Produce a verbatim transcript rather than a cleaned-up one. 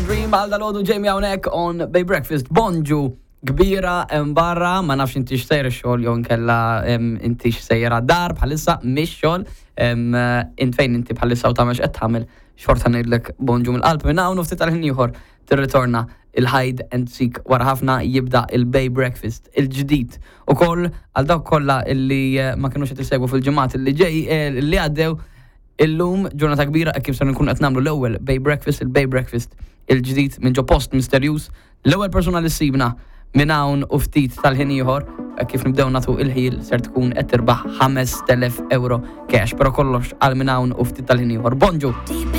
Dream għal dalgħodu Jamie hawnhekk on Bay Breakfast. Bonġu kbira hemm barra, ma nafx inti x'sejra xogħol jew inkella em, inti x'sejra dar bħalissa mhix xogħol. em, Int fejn inti bħalissa u tagħmel x'qed tagħmel xorta ngħidlek bonġu mill-qalb minn hawn u ftit tal-ħin ieħor tirritorna il-hide and seek wara ħafna jibda il-Bay Breakfast il-ġdid. Ukoll għal dawk kollha illi eh, ma kinux qed isegwu fil-ġimgħat illi ġej eh, li għaddew illum ġurnata kbira kif ser nkun qed nagħmlu l-ewwel Bay Breakfast, il-Bay Breakfast il-ġdid minn ġo post misterjuż. L-ewwel persuna li ssibna minn hawn u ftit tal-ħin ieħor kif nibdew nagħtu il-ħil ser tkun qed tirbaħ ħamest elef euro cash, però kollox għal minn hawn u ftit tal-ħin ieħor. Bonġu! Deep in